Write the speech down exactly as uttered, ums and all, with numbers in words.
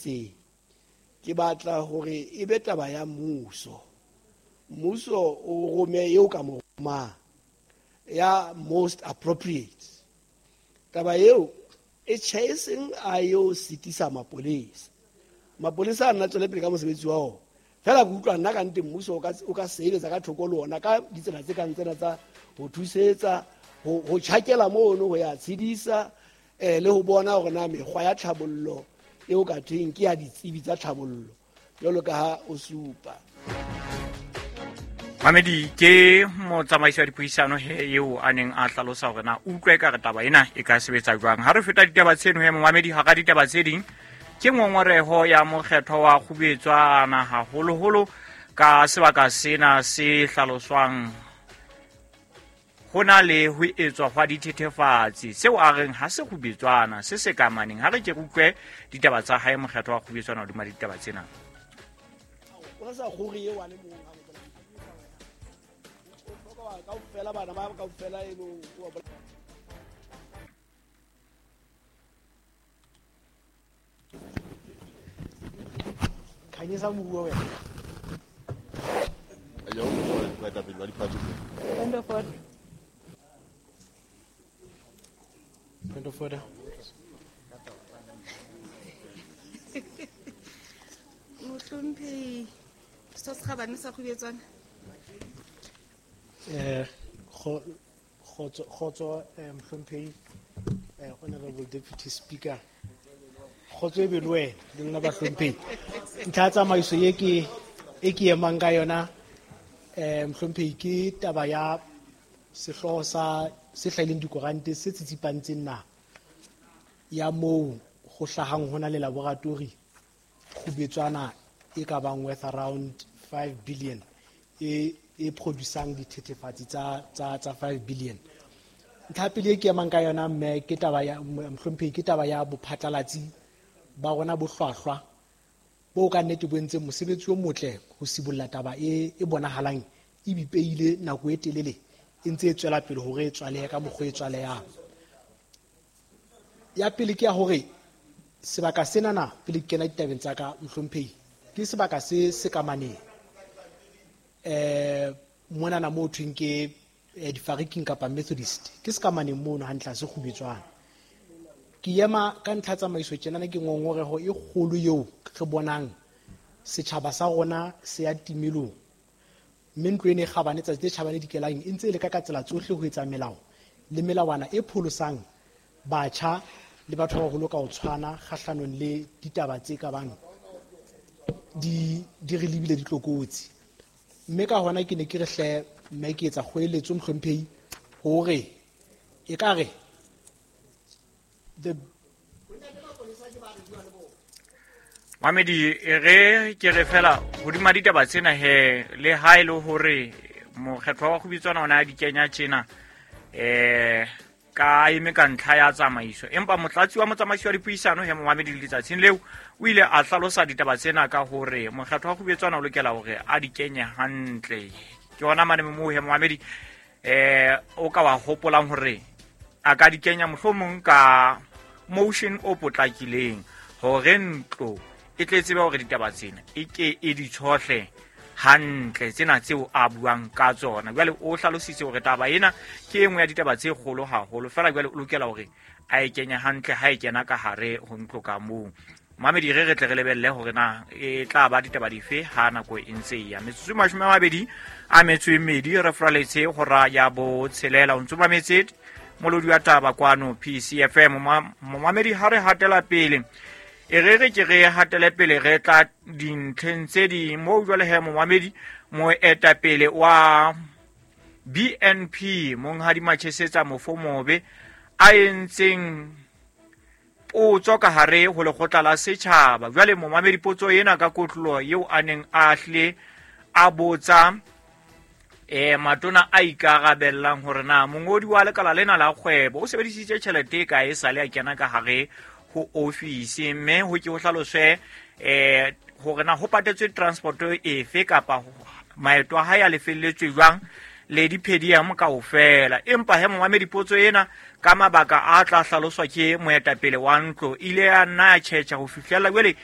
itseng. Ke batla hore e be taba ya mmuso. Mmuso o rome eo ka mo romang ya most appropriate. Taba eo e tjhe e seng a yo sitisa mapolesa. Mapolesa a nna tswele pele ka mosebetsi wa ona. Fela ke utlwa nna ka nnete mmuso o ka, o ka sebetsa ka thoko le ona ka ditsela tse kang tsena tsa ho thusetsa, ho, ho tjhakela mono, ho ya tshedisa, eh, le ho bona hore na mekgwa ya tlhabollo eo ka thweng ke ya ditsebi tsa tlhabollo jwalo ka ha o supa. Mamedi, ke motsamaisi wa dipuisano he eo a neng a hlalosa hore na utlwa ekare taba ena e ka sebetsa jwang. Ha re feta ditaba tseno he momamedi, hara ditaba tse ding ke ngongoreho ya mokgethwa wa Kgubetswana haholoholo ka sebaka sena se hlaloswang ho na le ho etswa hwa dithethefatsi, seo a reng ha se Kgubetswana se se ka maneng. Ha re ke re utlwe ditaba tsa hae mokgethwa wa Kgubetswana hodima ditaba tsena. O sa kgore eo a le mong ha o kaofela bana ba kaofela e lo wa Khanyisa moruo wena. Ayo, baetapele ba diphathi. Point of order. Point of order. Mohlomphehi Setho se Kgabane sa Kgubetswana. Eh, kgotso, kgotso, eh, mohlomphehi, eh, Honorable Deputy Speaker. Kgotso e be le wena, le lona bahlomphehi. Ntlha ya tsamaiso e ke, e ke emang ka yona, eh, mohlomphehi, ke taba ya sehlooho sa se hlahileng dikorante se tsitsipantseng naha ya moo ho hlahang hona le laboratory Kgubetswana e ka bang worth around five billion e, e producang dithethefatsi tsa, tsa, tsa five billion. Ntlha pele e ke emang ka yona mme ke taba ya, mohlomphehi, ke taba ya bophatlalatsi ba rona bo hlwahlwa bo ka nnete bo entseng mosebetsi o motle ho sibolla taba e, e bonahalang e bipeile nako e telele e ntse e tswela pele hore e tswalehe ka mokgwa e tswalehang. Ya pele ke ya hore sebaka senana pele ke kena ditabeng tsa ka mohlomphehi ke sebaka se se ka maneng. Eh, monana moo thweng ke, eh, difariking kapa Methodist ke se ka maneng mono hantle ha se Kgubetswana. Ke ema ka ntlha tsamaiso tjenana ke ngongoreho e kgolo eo re bonang setjhaba sa rona se ya timelong. Mme ntlo ena e kgabane tsatsi le tjhabane dikelang e ntse e leka ka tsela tsohle ho etsa melao le melawana e pholosang batjha le batho ba baholo ka ho tshwana kgahlanong le ditaba tse ka bang di, di re lebile ditlokotsi. Mme ka hona ke ne ke re hle mme ke etsa kgoeletso mohlomphehi hore ekare the Mamedi, e re ke re fela hodima ditaba tsena he le ha e le hore mokgethwa wa Kgubetswana ona a di kenya tjena, eh, ka eme ka ntlha ya tsamaiso, empa motlatsi wa motsamaisi wa dipuisano he momamedi letsatsing leo o ile a hlalosa ditaba tsena ka hore mokgethwa wa Kgubetswana o lokela hore a di kenye hantle. Ke hona mane moo he momamedi, eh, o ka wa hopolang hore a ka di kenya mohlomong ka motion o potlakileng hore ntlo e tle tsebe hore ditaba tsena e ke e di tshohle hantle tsena tseo a buang ka tsona. Jwale o hlalositse hore taba ena ke e nngwe ya ditaba tse kgolo haholo, fela jwale o lokela hore a e kenye hantle ha e kena ka hare ho ntlo ka moo. Mamedi, re re tle re lebelle hore na e tla ba ditaba dife ha nako e ntse e ya. Metsotso e mashome a mabedi a metso e mmedi re fraletse hora ya botshelela. O ntso mametse molodi wa taba kwano P C F M. Momamedi, ha re hatela pele, e re re ke re hatele pele re tla dintlheng tse ding moo jwale he momamedi moetapele wa B N P Monghadi Machesetsa Mofomobe a entseng potso ka hare ho lekgotla la setjhaba. Jwale momamedi potso ena ka kotloloho eo a neng a hle a botsa eh matona a ikarabellang hore na mongodi wa lekala lena la kgwebo o sebedisitse tjhelete e kae sale a kena ka hare ho ofisi, mme ho ke ho hlaloswe eh hore na ho patetswe transport efe kapa maeto a hae a lefelletswe jwang le di-pedium kaofela. Empa he momamedi potso ena ka mabaka a tla hlaloswa ke moetapele wa ntlo ile ya nna ya tjhetjha ho fihlela jwale e